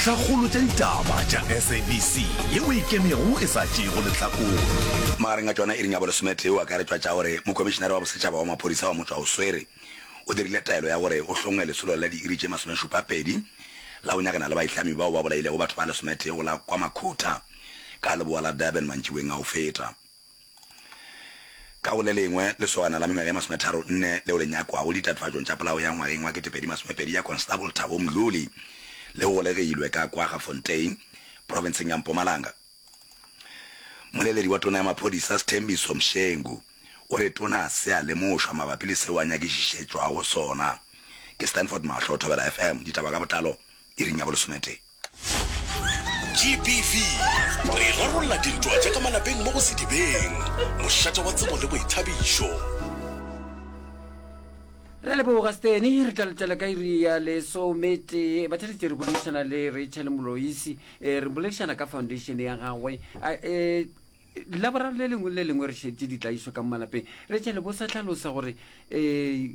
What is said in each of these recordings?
Dintlhakgolo tša ditaba tša SABC yeo e ikemego e sa tšeego lehlakore. Magareng a tšona iring ya bolesometee o akaretšwa tša gore Mokomišenare wa Bosetšhaba wa Maphodisa wa Motšwaoswere o dirile taelo ya gore go hlongwe lesolo la diiri tše masomešupapedi la go nyakana le baitlami bao ba bolailego batho ba lesometee go la KwaMakhutha ka leboa la Durban mantšiboeng a go feta. Ka go le lengwe, lesogana la mengwaga e masometharonne leo le nyakwago ditatofatšong tša polao ya ngwageng wa 2020 ya Constable Thabo Mdluli le golegilwe ka Kwaggafontein, profenseng ya Mpumalanga. Mmoleledi wa tona ya maphodisa Sthembiso Mshengu o re tona se a lemošwa mabapi le seo a nyakišišetšwago sona. Ke Stanford Mahlo, Thobela FM, ditaba ka botlalo iring ya bolesometee. GBV, Re rarolla dintwa tša ka malapeng mo go Sedibeng, mošate wa tsebo le boithabišo. Re a leboga Steny, re tla letela ka iri ya lesometee. Batheletši re boledišana le Rachel Moloisi, eh, re boledišana ka foundation ya gagwe. Eh, Laboraro le lengwe le lengwe re šetše ditlaišo ka mo malapeng. Rachel, bo sa hlalosa gore eh,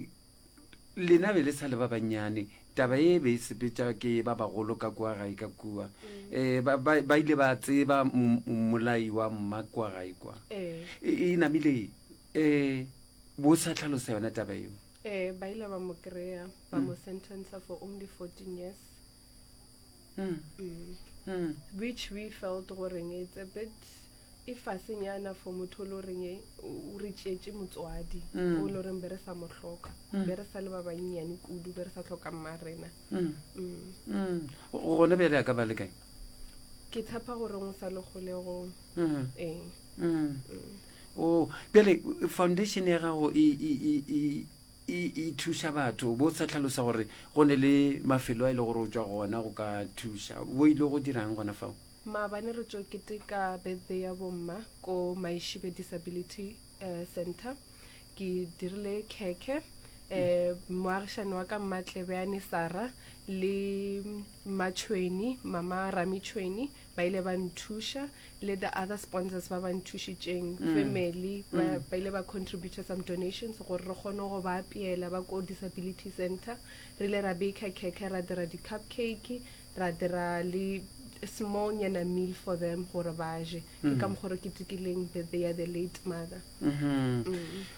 Lena be le sa le ba bannyane, taba ye be e sepetša ke ba bagolo ka kua gae ka kua. Um ba, ba, ba ile ba tseba mmolai wa mma kua gae kwa. Ee. E, e namile um bo sa tlhalosa yona taba eo. Ee, ba ile ba mo kry-a, ba mo sentencer for only 14 years. Mm. Mm. Mm. Which we felt goreng it's a bit e fase nyana for motho o le goreng o re tšeetše motswadi Mm. o le goreng be re sa mo hloka Mm. be re sa le ba bannyane kudu be re sa hloka mma rena Mm. Mm. Mm. Gona bjale a ka ba le kae? ke tshepa gore o sa le kgolegong Mm. ee Mm. Mm. Oh, bjale foundation ya gago e, e, e, e, e, e thuša batho bo sa tlhalosa gore go ne le mafelo a e le gore o tšwa gona go ka thuša bo ile go dirang gona fao Maabane re tšo keteka birthday ya bomma ko Maishibe Disability eh, Center. Ke dirile khekhe eh moagišani wa ka Mmatlebeane Sarah le Mmatšhweni mama Rami Tšhweni ba ile ba nthuša le the other sponsors ba ba nthušitšeng family ba, ba ile ba contributor some donations gore re kgone go ba apeela ba ko disability center re ile ra baker khekhe ra dira di-cupcake ra dira le small nyana meal for them gore ba je ke ka mokgwa re ketekileng birthday ya the late mother Mhm.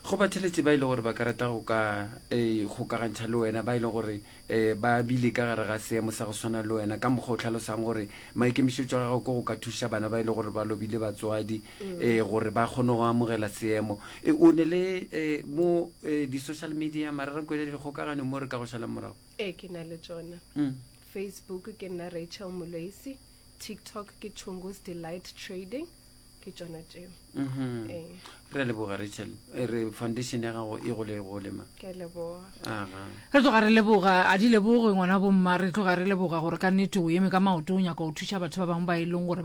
go batheletše ba e le gore ba ka rata go ka eh, kgokagantšha le wena ba e le gore um ba bile ka gare ga seemo sa go swana le wena ka mokgwa o tlhalosang gore maikemišetšo a gago ke go ka thuša bana ba e le gore ba lobile batswadi um gore ba kgone go amogela seemo Eh, o ne le eh, mo eh, di-social media mararanko le dikgokagano mo re ka go šalang morago ee ke na le tsona Mm. Facebook ke nna Rachel Moloisi, TikTok ke Chungu's Delight Trading, ke tšona tšeo. Mhm. Ee. Re a leboga Rachel, e re foundation ya gago e gole gole ma. Ke a leboga. Aga. Re tloga re leboga, a di leboge ngwana bomma, re tloga re leboga gore ka nnete o eme ka maoto o nyaka go thuša batho ba bangwe ba e leng gore ba.